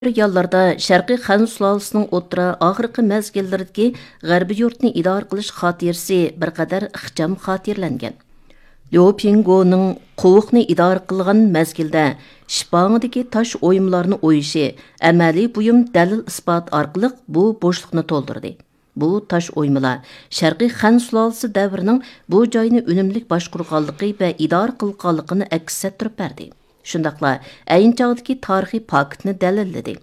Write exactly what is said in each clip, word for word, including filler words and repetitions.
يانلاردا شەرقىي خەن سۇلالىسىنىڭ ئوتتۇرا ئاخىرقى مەزگىللىرىدىكى غەربىي يۇرتنى ئىدارە قىلىش خاتىرىسى بىر قەدەر ئىخچام خاتىرىلەنگەن. ليۇ پىڭگونىڭ قوۋۇقنى ئىدارە قىلغان مەزگىلدە شىپاڭىدىكى تاش ئويمىلارنى ئويۇشى ئەمەلىي بۇيۇم دەلىل-ئىسپات ئارقىلىق بۇ بوشلۇقنى تولدۇردى. بۇ تاش ئويمىلار شەرقىي خەن سۇلالىسى دەۋرىنىڭ بۇ جاينى ئۈنۈملۈك باشقۇرغانلىقى ۋە ئىدارە قىلغانلىقىنى ئەكس ئەتتۈرۈپ بەردى. شۇنداقلا ئەينى چاغدىكى تارىخىي پاكىتنى دەلىللىدى.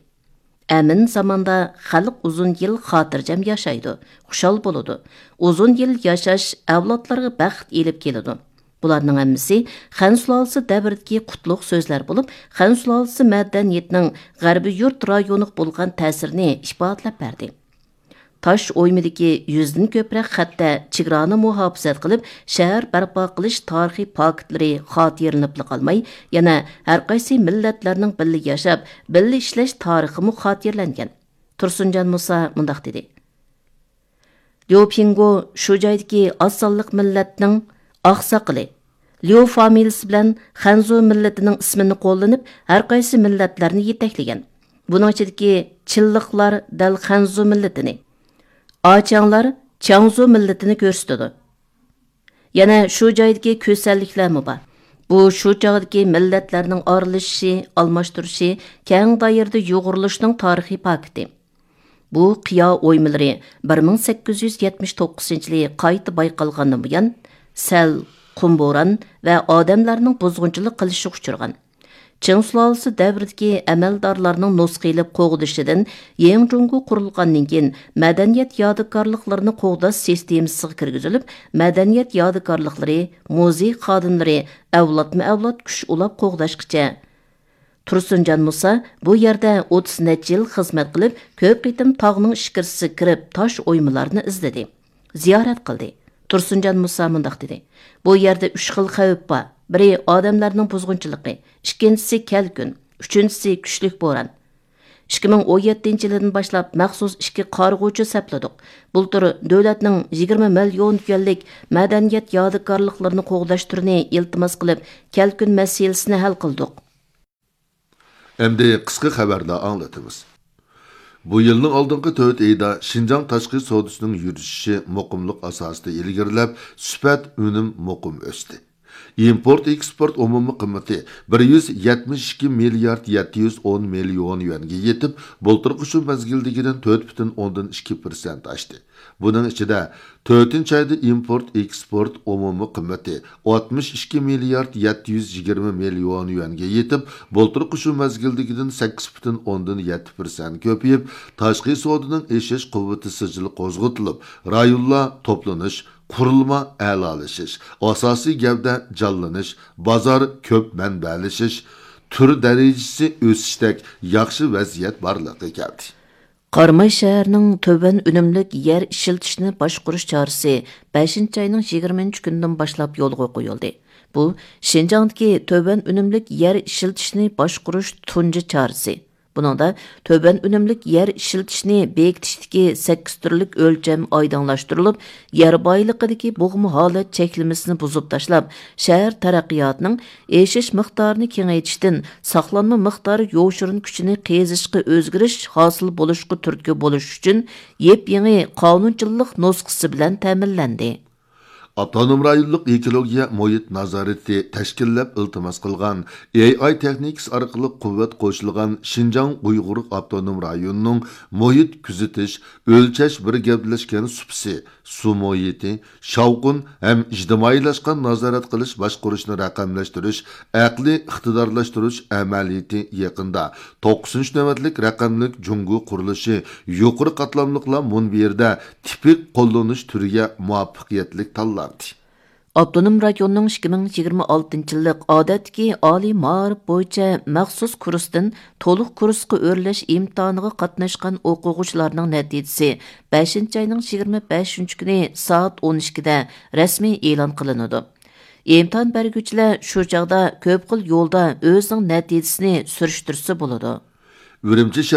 ئەمىن زاماندا خەلق ئۇزۇن يىل خاتىرجەم ياشايدۇ، خۇشال بولىدۇ. ئۇزۇن يىل ياشاش ئەۋلادلارغا بەخت ئېلىپ كېلىدۇ. بۇلارنىڭ ھەممىسى خەن سۇلالىسى دەۋرىدىكى قۇتلۇق سۆزلەر بولۇپ، خەن سۇلالىسى مەدەنىيىتىنىڭ غەربىي يۇرت رايونىغا بولغان تەسىرىنى ئىپادىلەپ بەردى. تاش ئويمىدىكى يۈزدىن كۆپرەك خەتتە چېگرانى مۇھاپىزەت قىلىپ، شەھەر بەرپا قىلىش تارىخىي پاكىتلىرى خاتىرىلىنىپلا قالماي، يەنە ھەرقايسى مىللەتلەرنىڭ بىللە ياشاپ، بىللە ئىشلەش تارىخىمۇ خاتىرىلەنگەن. تۇرسۇنجان مۇسا مۇنداق دېدى: ليۇ پىڭگو شۇ جايدىكى ئاز سانلىق مىللەتنىڭ ئاقساقىلى، ليۇ فامىلىسى بىلەن خەنزۇ مىللىتىنىڭ ئىسمىنى قوللىنىپ، ھەرقايسى مىللەتلەرنى يېتەكلىگەن. بۇنىڭ ئىچىدىكى چىنلىقلار دەل خەنزۇ مىللىتىنى، ئاچياڭلار چياڭزۇ مىللىتىنى كۆرسىتىدۇ. يەنە شۇ جايدىكى كۈسەنلىكلەرمۇ بار. بۇ شۇ چاغدىكى مىللەتلەرنىڭ ئارىلىشىشى، ئالماشتۇرۇشى، كەڭ دائىرىدە يۇغۇرۇلۇشىنىڭ تارىخىي پاكىتى. بۇ قىيا ئويمىلىرى بىر مىڭ سەككىز يۈز يەتمىش توققۇزىنچى يىلى قايتا بايقالغاندىن بۇيان، سەل، قۇم بوران ۋە ئادەملەرنىڭ بۇزغۇنچىلىق قىلىشىغا ئۇچرىغان. چىڭ سۇلالىسى دەۋرىدىكى ئەمەلدارلارنىڭ نۇسخا ئېلىپ قوغدىشىدىن يېڭ جۇڭگو قۇرۇلغاندىن كېيىن، مەدەنىيەت يادىكارلىقلىرىنى قوغداش سىستېمىسىغا كىرگۈزۈلۈپ، مەدەنىيەت يادىكارلىقلىرى، مۇزېي خادىملىرى ئەۋلادمۇ ئەۋلاد كۈچ ئۇلاپ قوغداشقىچە. تۇرسۇنجان مۇسا بۇ يەردە ئوتتۇز نەچچە يىل خىزمەت قىلىپ، كۆپ قېتىم تاغنىڭ ئىچكىرىسىگە كىرىپ، تاش ئويمىلارنى ئىزدىدى، زىيارەت قىلدى. تۇرسۇنجان مۇسا مۇنداق دېدى: بۇ يەردە ئۈچ خىل خەۋپ بار. بىرى ئادەملەرنىڭ بۇزغۇنچىلىقى، ئىككىنچىسى كەلكۈن، ئۈچىنچىسى كۈچلۈك بوران. ئىككى مىڭ ئون يەتتىنچى يىلىدىن باشلاپ مەخسۇس ئىككى قارىغۇچى سەپلىدۇق. بۇلتۇر دۆلەتنىڭ يىگىرمە مىليون يۈەنلىك مەدەنىيەت يادىكارلىقلىرىنى قوغداش تۈرىنى ئىلتىماس قىلىپ، كەلكۈن مەسىلىسىنى ھەل قىلدۇق. ئەمدى قىسقا خەۋەرلەر ئاڭلىتىمىز. بۇ يىلنىڭ ئالدىنقى تۆت ئېيىدا شىنجاڭ تاشقى سودىسىنىڭ يۈرۈشۈشى مۇقىملىق ئاساسىدا ئىلگىرىلەپ، سۈپەت ئۈنۈم مۇقىم ئۆستى. ئىمپورت ئېكسپورت ئومۇمىي قىممىتى بىر يۈز يەتمىش ئىككى مىليارد يەتتە يۈز ئون مىليون يۈەنگە يېتىپ، بۇلتۇرقى شۇ مەزگىلدىكىدىن تۆت پۈتۈن ئوندىن ئىككى پىرسەنت ئاشتى. بۇنىڭ ئىچىدە، تۆتىنچى ئايدا ئىمپورت ئېكسپورت ئومۇمىي قىممىتى ئاتمىش ئىككى مىليارد يەتتە يۈز يىگىرمە مىليون يۈەنگە يېتىپ، بۇلتۇرقى شۇ مەزگىلدىكىدىن سەككىز پۈتۈن ئوندىن يەتتە پىرسەنت كۆپىيىپ، تاشقى سودىنىڭ ئېشىش قۇۋۋىتى سىجىل قوزغىتىلىپ، رايونلار توپلىنىش، قۇرۇلما ئەلالىشىش، ئاساسىي گەۋدە جانلىنىش، بازار كۆپ مەنبەلىشىش، تۈر دەرىجىسى ئۆسۈشتەك ياخشى ۋەزىيەت بارلىققا كەلدى. قاراماي شەھىرىنىڭ تۆۋەن ئۈنۈملۈك يەر ئىشلىتىشنى باشقۇرۇش چارىسى بەشىنچى ئاينىڭ يىگىرمىنچى كۈنىدىن باشلاپ يولغا قويۇلدى. بۇ شىنجاڭدىكى تۆۋەن ئۈنۈملۈك يەر ئىشلىتىشنى باشقۇرۇش تۇنجى چارىسى. بۇنىڭدا تۆۋەن ئۈنۈملۈك يەر ئىشلىتىشنى بېكىتىشتىكى سەككىز تۈرلۈك ئۆلچەم ئايدىڭلاشتۇرۇلۇپ، يەر بايلىقىدىكى بوغما ھالەت چەكلىمىسىنى بۇزۇپ تاشلاپ، شەھەر تەرەققىياتىنىڭ ئېشىش مىقدارىنى كېڭەيتىشتىن ساقلانما مىقدار يوشۇرۇن كۈچىنى قېزىشقا ئۆزگىرىش ھاسىل بولۇشقا تۈرتكە بولۇش ئۈچۈن يېپيېڭى قانۇنچىلىق نۇسخىسى بىلەن تەمىنلەندى. ئاپتونوم رايونلۇق ئېكولوگىيە مۇھىت نازارىتى تەشكىللەپ ئىلتىماس قىلغان، ئېي ئاي تېخنىكىسى ئارقىلىق قۇۋۋەت قوشۇلغان شىنجاڭ ئۇيغۇر ئاپتونوم رايونىنىڭ مۇھىت كۆزىتىش، ئۆلچەش بىر گەۋدىلەشكەن سۇپىسى، سۇ مۇھىتى، شاۋقۇن ھەم ئىجتىمائىيلاشقان نازارەت قىلىش باشقۇرۇشنى رەقەملەشتۈرۈش، ئەقلىي ئىقتىدارلاشتۇرۇش ئەمەلىيىتى يېقىندا توققۇزىنچى نۆۋەتلىك رەقەملىك جۇڭگو قۇرۇلۇشى يۇقىرى قاتلاملىقلار مۇنبىرىدە تىپىك قوللىنىش تۈرىگە مۇۋەپپەقىيەتلىك تاللاندى. ئاپتونوم رايوننىڭ ئىككى مىڭ يىگىرمە ئالتىنچى يىللىق ئادەتتىكى ئالىي مائارىپ بويىچە مەخسۇس كۇرستىن تولۇق كۇرسقا ئۆرلەش ئىمتىھانىغا قاتناشقان ئوقۇغۇچىلارنىڭ نەتىجىسى بەشىنچى ئاينىڭ يىگىرمە بەشىنچى كۈنى سائەت ئون ئىككىدە رەسمىي ئېلان قىلىنىدۇ. ئىمتىھان بەرگۈچىلەر شۇ چاغدا كۆپ خىل يولدا ئۆزىنىڭ نەتىجىسىنى سۈرۈشتۈرسە بولىدۇ. ئۈرۈمچى شەھەر